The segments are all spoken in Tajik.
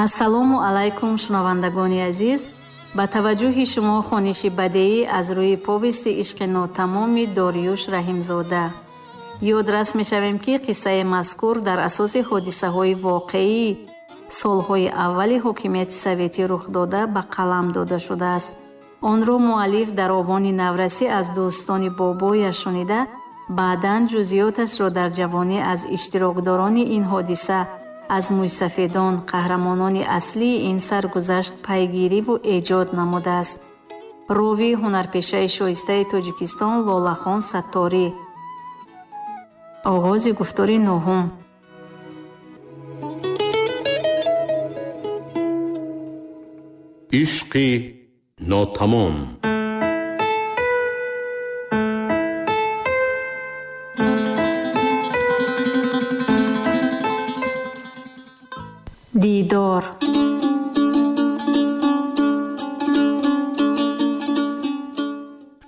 Ассалому алайкум, шунавандагони азиз. Ба таваҷҷӯҳи шумо хониши бадеӣ аз рӯи повести ишқи нотамоми Дориюш Раҳимзода. Ёдрас мешавем, ки қиссаи мазкур дар асоси ҳодисаҳои воқеӣ солҳои аввали ҳокимияти советӣ рух дода ба қалам дода шудааст. Онро муаллиф дар овони наврасӣ аз дӯстони бобояш шунида, баъдан ҷузъиёташро дар ҷавонӣ аз иштирокдорони ин ҳодиса, аз мӯйсафедон, қаҳрамонони аслии ин саргузашт пайгириву эҷод намудааст. Ровии ҳунарпешаи шоистаи Тоҷикистон Лолахон Сатторӣ. Оғози гуфтори нуҳум. Ишқи нотамом. Дидор.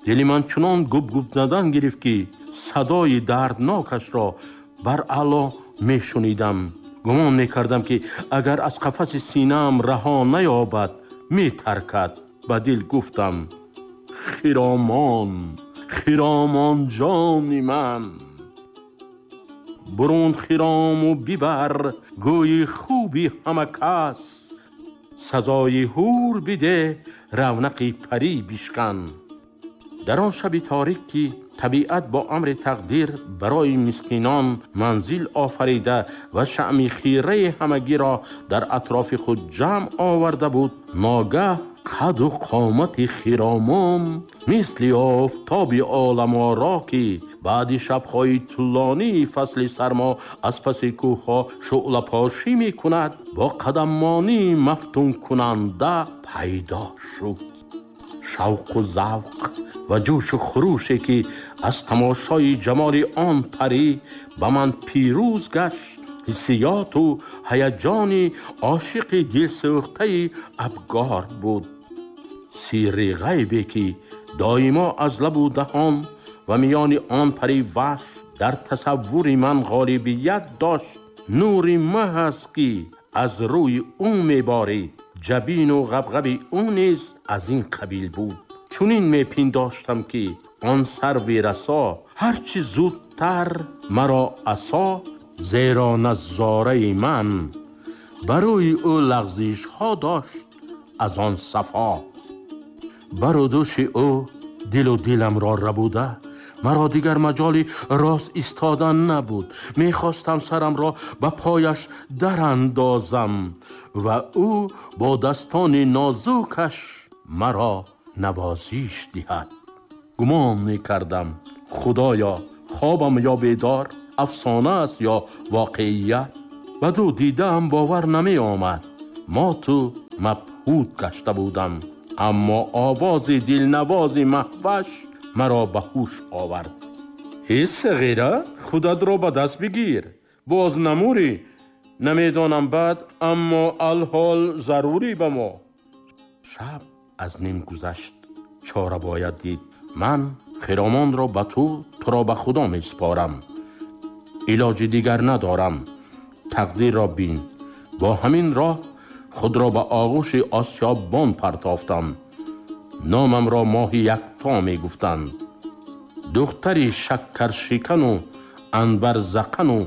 Дили ман чунон губ-губ задан гирифт, ки садои дарднокашро бар аъло мешунидам. Гумон мекардам, ки агар аз қафаси синаам раҳо наёбад, метаркад. Ба дил гуфтам: хиромон, хиромон ҷони ман, бурун хирому бибар гӯйи хуби ҳама кас, сазои ҳур биде, равнақи парӣ бишкан. Дар он шаби торик, ки табиат бо амри тақдир барои мискинон манзил офарида ва шаъми хираи ҳамагиро дар атрофи худ ҷамъ оварда буд, ногаҳ қаду қомати хиромон мисли офтоби оламоро, ки баъди шабҳои тӯлонии фасли сармо аз паси кӯҳҳо шӯълапошӣ мекунад, бо қадаммонии мафтункунанда пайдо шуд. Шавқу завқ ва ҷӯшу хуруше, ки аз тамошои ҷамоли он парӣ ба ман пирӯз гашт, ҳиссиёту ҳаяҷони ошиқи дилсӯхтаи абгор буд. Сирри ғайбе, ки доимо аз лабу даҳон ва миёни он пари ваҳш дар тасаввури ман ғолибият дошт, нури маҳ аст, ки аз рӯи ӯ меборид. Ҷабину ғабғаби ӯ низ аз ин қабил буд. Чунин мепиндоштам, ки он сарви расо ҳарчи зудтар маро асо, зеро назораи ман ба рӯи ӯ лағзишҳо дошт аз он сафо. Бару дӯши ӯ дилу диламро рабуда, маро дигар маҷоли рост истодан набуд. Мехостам сарамро ба пояш дарандозам ва ӯ бо дастони нозукаш маро навозиш диҳад. Гумон мекардам, худоё, хобам ё бедор, афсона аст ё воқеият. Ба ду дидаам бовар намеомад. Моту мабҳут гашта будам, аммо овози дилнавози Маҳваш маро ба ҳуш овард. Ҳей сағира, худатро ба даст бигир, боз намурӣ. Намедонам баъд, аммо алҳол зарурӣ ба мо. Шаб аз ним гузашт, чора бояд дид. Ман хиромонро ба ту, туро ба худо месупорам. Илоҷи дигар надорам. Тақдирро бин. Бо ҳамин роҳ худро ба оғӯши осиёббон партофтам. Номамро моҳи якто мегуфтанд. Духтари шаккаршикану анбарзақану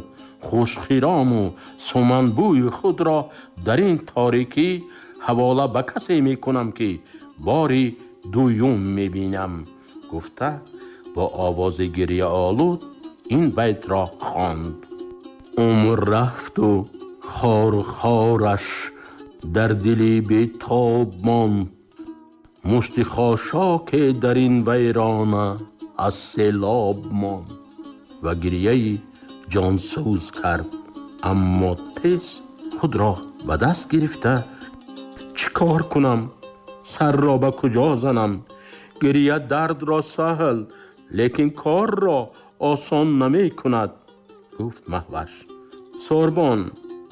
хушхирому суманбӯи худро дар ин торикӣ ҳавола ба касе мекунам, ки бори дуюм мебинам, гуфта бо овози гирьяолуд ин байтро хонд. Умр рафту хору хораш дар дили бетоб монд, мушти хошоке дар ин вайрона аз селоб монд. Ва гирьяи ҷонсӯз кард, аммо тез худро ба даст гирифта: чӣ кор кунам? Сарро ба куҷо занам? Гирья дардро саҳл, лекин корро осон намекунад, гуфт Маҳваш. Сорбон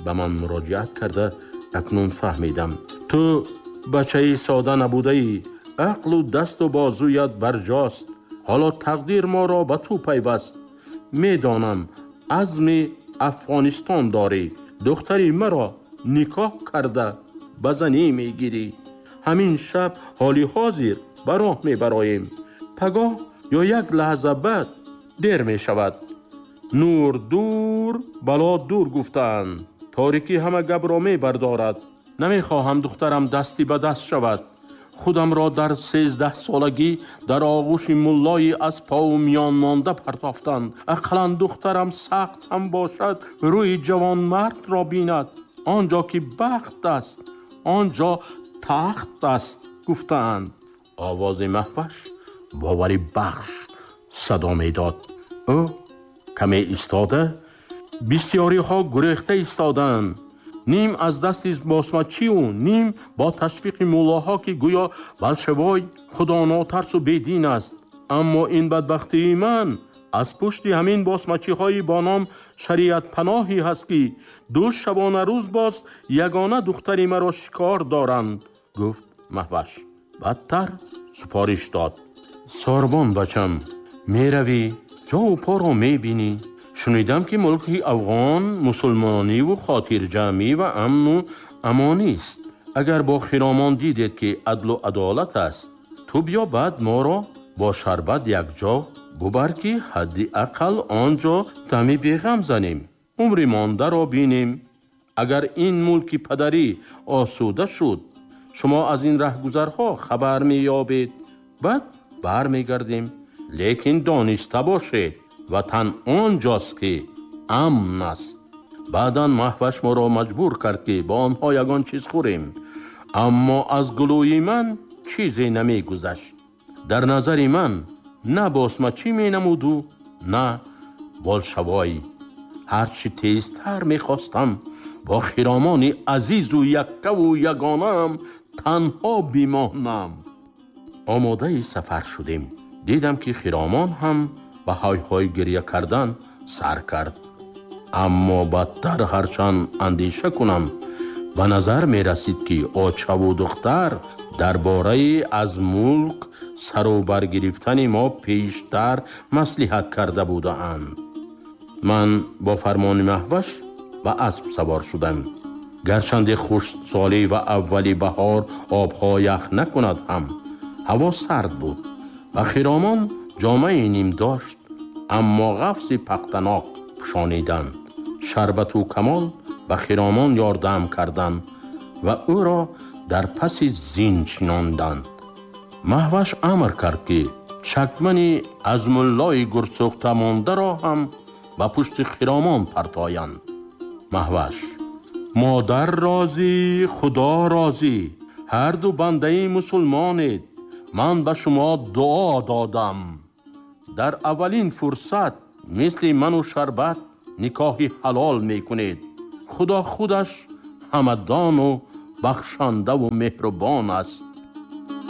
ба ман муроҷиат карда: акнун фаҳмидам, ту бачаи сода набудаӣ, ақлу дасту бозуят барҷост. Ҳоло тақдир моро ба ту пайваст. Медонам, азми Афғонистон дорӣ. Духтари маро Никоҳ карда ба занӣ мегирӣ. Ҳамин шаб ҳоли ҳозир ба роҳ мебароем. Пагоҳ ё як лаҳза баъд дер мешавад. Нур дур, бало дур гуфтаанд. Торикӣ ҳама гапро мебардорад. Намехоҳам духтарам дасти ба даст шавад. Худамро дар 13 солагӣ дар оғӯши муллои аз пову миён монда партофтанд. Ақаллан духтарам сахт ҳам бошад, рӯи ҷавонмардро бинад. Он ҷо ки бахт аст, он ҷо тахт аст, гуфтаанд. Овози Маҳваш бовари бахш садо медод. Ӯ каме истода, бисёриҳо гурехта истоданд. Ним аз дасти босмачиву ним бо ташвиқи муллоҳо, ки гӯё болшевой худонотарсу бедин аст. Аммо ин бадбахтии ман аз пушти ҳамин босмачиҳои бо ном шариатпаноҳӣ ҳаст, ки ду шабона рӯз боз ягона духтари маро шикор доранд, гуфт Маҳваш. Бадтар супориш дод. Сорбон бачам, меравӣ, ҷову поро мебинӣ. Шунидам, ки мулки афғон мусулмониву хотирҷамъӣ ва амну амонист. Агар бо хиромон дидед, ки адлу адолат аст, ту биё, баъд моро бо Шарбат якҷо бубар, ки ҳадди ақал он ҷо дами беғам занем, умри мондаро бинем. Агар ин мулки падарӣ осуда шуд, шумо аз ин раҳгузарҳо хабар меёбед, баъд бармегардем. Лекин дониста бошед, ватан он ҷост, ки амн аст. Баъдан Маҳваш моро маҷбур кард, ки бо онҳо ягон чиз хӯрем, аммо аз гулӯи ман чизе намегузашт. Дар назари ман на босмачӣ менамуду, на болшавой. Ҳарчи тезтар мехостам бо хиромони азизу яккаву ягонаам танҳо бимонам. Омодаи сафар шудем. Дидам, ки хиромон ҳам ба ҳой-ҳой гиря кардан сар кард. Аммо бадтар ҳарчанд андеша кунам, ба назар мерасид, ки очаву духтар дар бораи аз мулк сару баргирифтани мо пештар маслиҳат карда будаанд. Ман бо фармони Маҳваш ба асп савор шудам. Гарчанде хушксолӣ ва аввали баҳор обҳо ях накунад ҳам, ҳаво сард буд ва хиромон ҷомаи ним дошт, аммо ғафси пахтанок пӯшониданд. Шарбату Камол ба хиромон ёрдам карданд ва ӯро дар паси зин чинонданд. Маҳваш амр кард, ки чакмани аз муллои гурсӯхта мондаро ҳам ба пушти хиромон партоянд. Маҳваш: «Модар розӣ, Худо розӣ, ҳарду бандаи мусулмонед. Ман ба шумо дуо додам. Дар аввалин фурсат мисли ману Шарбат никоҳи ҳалол мекунед. Худо худаш ҳамадону бахшандаву меҳрубон аст».